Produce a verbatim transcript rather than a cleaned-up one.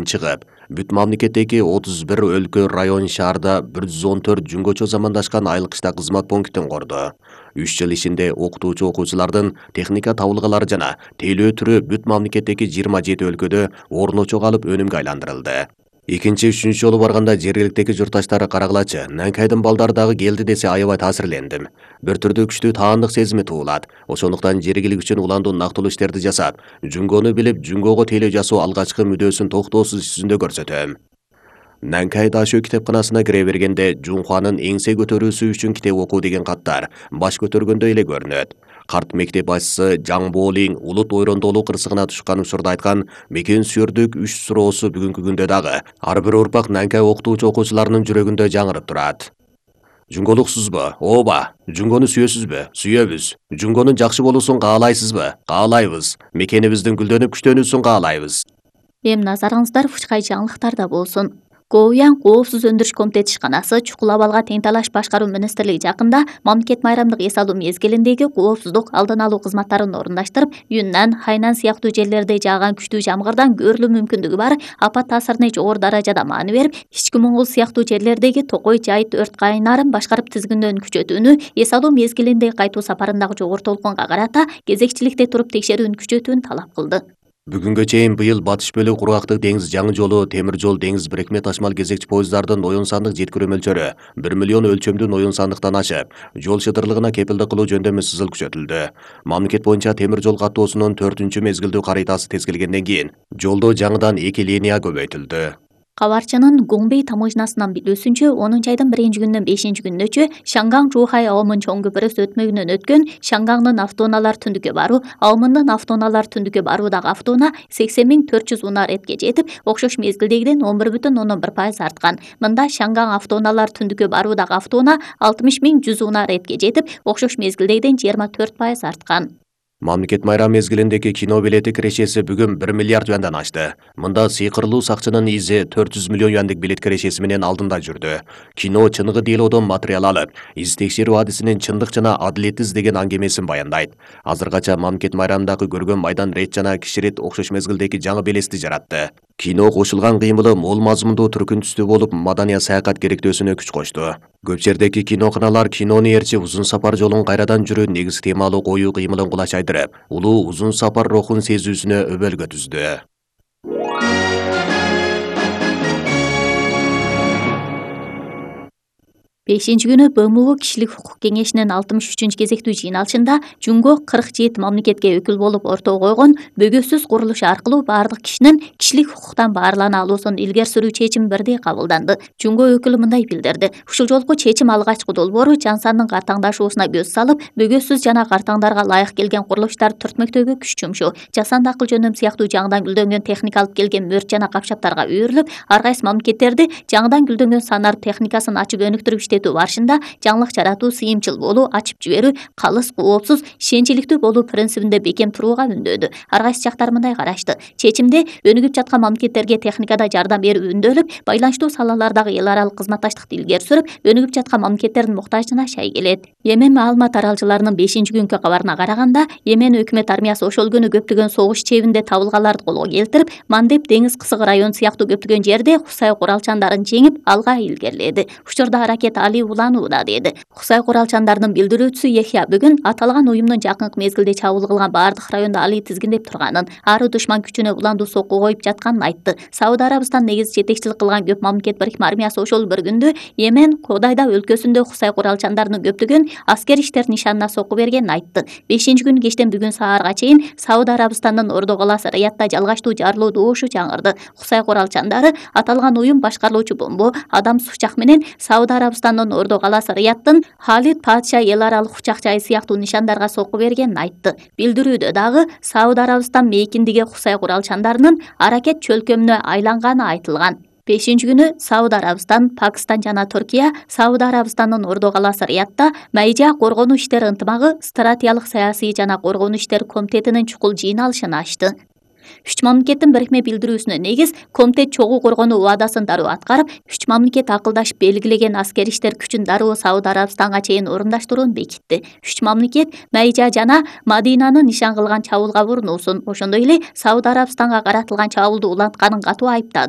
чыгып, бүт мамлекеттеги отуз бир өлкө, район, шаарда бир жүз он төрт жөнгөчө замандашкан айылкычта кызмат пунктин курду. үч жыл ичинде окутуучу окуучулардын техника табылгалары жана тейлөө түрү бүт мамлекеттеги жыйырма жети өлкөдө орночо калып өнүмгө айландырылды. Экинчи, үчүнчү жолу барганда жергиликтеги журтташтары карагылачы, Нанкайдын балдары дагы келди десе аябай таасирлендим. Бир түрдүү күчтүү таандык сезими туулат. Ошондуктан жергилик үчүн уландуу нактылуу иштерди жасап, Жүнгөнү билип, Жүнгөгө тейлөө жасоо алгачкы мүдөөсүн токтоосуз иш жүзүндө көрсөтөм. Нанкай Дашөө китепканасына кире бергенде Жунхуанын эңсе көтөрүүсү үчүн китеп окуу деген каттар баш көтөргөндөй эле көрүнөт. Карт мектеп башчысы Жаң Болин улут ойрондолуу кырсыгына тушкан учурда айткан мекен сүйөрдүк үч суроосу бүгүнкү күндө дагы ар бир урпак Нанкай окутуучу окуучуларынын жүрөгүндө жаңырып турат. Жүнгөлүксүзбү? Ооба. Жүнгөнү сүйөсүзбү? Сүйөбүз. Жүнгөнүн жакшы болуусун каалайсызбы? Каалайбыз. Мекенибиздин гүлдөнүп күчтөнүүсүн каалайбыз. Эми назарыңыздар Фучкай жаңылыктарда болсун. Коуян Коопсуз өндүрүш комитети ишканасы чукул абалга тең талаш башкаруу министрлиги жакында мамлекет майрамдык эс алуу мезгилиндеги коопсуздук алдын алуу кызматтарын орундаштырып, Юннан, Хайнан сыяктуу жерлерде жааган күчтүү жамгырдан көрүлүү мүмкүндүгү бар апат таасирine жогору даражада маани берип, ички Моңгол сыяктуу жерлердеги Токой Жайыт өрт кайнарын башкарып тизгиндөөн күчөтүүнү, эс алуу мезгилинде кайтуу сапарындагы жогору толкунга карата кезекчиликте туруп текшерүүнү күчөтүүнү талап кылды. Бүгүнгө чейин быйыл батыш бөлүк кургактык деңиз жаңы жолу, темир жол, деңиз бирикме ташмал кезекчи поездардын оюн сандык жеткирүү мөлчөрү бир миллион өлчөмдүн оюн сандыктан ашып, жол шытырлыгына кепилдик кылуу жөндөмү сызыл күчөтүлдү. Мамлекет боюнча темир жол каттоосунун төртүнчү мезгилдүү карыйтасы тескилгенден кийин жолдо жаңыдан эки линия көбөйтүлдү. Кабарчынын Гуңбей таможнасынан билүүсүнчө, онунчу айдын биринчи күнүнөн бешинчи күнүнөчү Шанган Жухай Аомун чоң көпүрөсү өтмөгүнөн өткөн Шангаңдын автоунаалар түндүккө баруу, Аомундун автоунаалар түндүккө баруудагы автоунаа сексен миң төрт жүз унаа ретке жетип, окшош мезгилдегиден он бир бүтүн ондон бир пайыз арткан. Мында Шангаң автоунаалар түндүккө баруудагы автоунаа алтымыш миң жүз унаа ретке жетип, окшош мезгилдегиден жыйырма төрт пайыз арткан. Мамлекет майрам мезгилиндеги кино билети кирешеси бүгүн бир миллиард юандан ашты. Мында сыйкырлуу сакчынын изи төрт жүз миллион юандык билет кирешеси менен алдында жүрдү. Кино чыныгы делодон материал алып, из текшерүү адисинин чындык жана адилетти издеген аңгемесин баяндайт. Азыркача мамлекет майрамындагы көргөн майдан рет жана киширет окшош мезгилдеги жаңы белести жаратты. Кино кошулган кыймылы мол мазмундуу түркүн түстүү болуп, маданий саякат керектөөсүнө күч кошту. Көп жердеги киноканалар кинону ээрчип узун сапар жолун кайрадан жүрүү негиз темалуу коюу кыймылын кулачайдырып, улуу узун сапар рухун сезүүсүнө өбөлгө түздү. бешинчи күнү Б М У кишилик укук кеңешинин алтымыш үчүнчү кезектүү жыйналышында Жүнгө кырк жети мамлекетке өкүл болуп ортого койгон бөгөөсүз курулуш аркылуу баардык кишинин кишилик укуктан баарлана алуусун илгери сүрүү чечим бирдей кабылданды. Жүнгө өкүлү мындай билдирди. Ушул жолку чечим алгачкы долбоору жан сандын картаңдашуусуна көз салып, бөгөөсүз жана картаңдарга ылайык келген курулуштарды түртмөктөөгө күч жумшоо, жасанды акыл жөндөм сыяктуу жаңыдан гүлдөнгөн техника алып келген мөрт жана капчаптарга үйрүлүп, ар кайсы мамлекеттерди жаңыдан гүлдөнгөн санар техникасын ачып өнүктүрүп барышында жаңылык жаратуу, сыйымчыл болуу, ачып жиберүү, калыс, коопсуз, ишенчиликтүү болуу принцибинде бекем турууга үндөдү. Ар кайсы жактар мындай карашты. Чечимде өнүгүп жаткан мамлекеттерге техникада жардам берүү үндөлүп, байланыштуу салалардагы эл аралык кызматташтыкты илгери сүрүп, өнүгүп жаткан мамлекеттердин муктажына шай келет. Йемен маалымат аралчыларынын бешинчи күнкү кабарына караганда, Йемен өкмөт армиясы ошол күнү көптөгөн согуш чебинде табылгаларды колго келтирип, Мандеб деңиз кысыгы район сыяктуу көптөгөн жерде Хусай куралчандарын жеңип, алга илгериледи. Учурда аракет али уланууда, деди. Хусай куралчандарынын билдирүүчүсү Яхья бүгүн аталган уюмдун жакынкы мезгилде чабуул кылган баардык райондо али тизгиндеп турганын, ары душман күчүнө уландуу сокку коюп жатканын айтты. Сауд Арабистан негизи жетекчилик кылган көп мамлекет бирикме армиясы ошол бір күндө Йемен Кодайда өлкөсүндө Хусай куралчандарынын көптөгөн аскер иштер нишанына сокку бергенин айтты. бешинчи күнү кечтен бүгүн саарга чейин Сауд Арабистандын Ордо калаасы Риядда жалгачтуу жарылуу добушу жаңырды. Хусай куралчандары аталган уюм башкарылуучу бомбо, адам сучак менен Сауд Арабистандын Ордо калаасы Риядтын Халид Падша эл аралык учак жайы сыяктуу нишандарга сокку бергенин айтты. Билдирүүдө дагы Сауд Арабистан мейкиндиги Хусай куралчандарынын аракет чөлкөмүнө айланганы айтылган. бешинчи күнү Сауд Арабистан, Пакистан жана Түркия Сауд Арабистандын Ордо калаасы Риядда Майжа коргонуу иштери ынтымагы стратегиялык саясий жана коргонуу иштери комитетинин чукул жыйналышын ачты. Үч мамлекеттин бирикме билдирүүсүнө негиз комитет чогуу коргонуу убадасын дароо аткарып, үч мамлекет акылдашып белгилеген аскер иштер күчүн дароо Сауд Арабистанга чейин орундаштырууну бекитти. Үч мамлекет Майжа жана Мадинаны нишан кылган чабуулга бурунуусун, ошондой эле Сауд Арабистанга каратылган чабуулду улантканын катуу айыптады.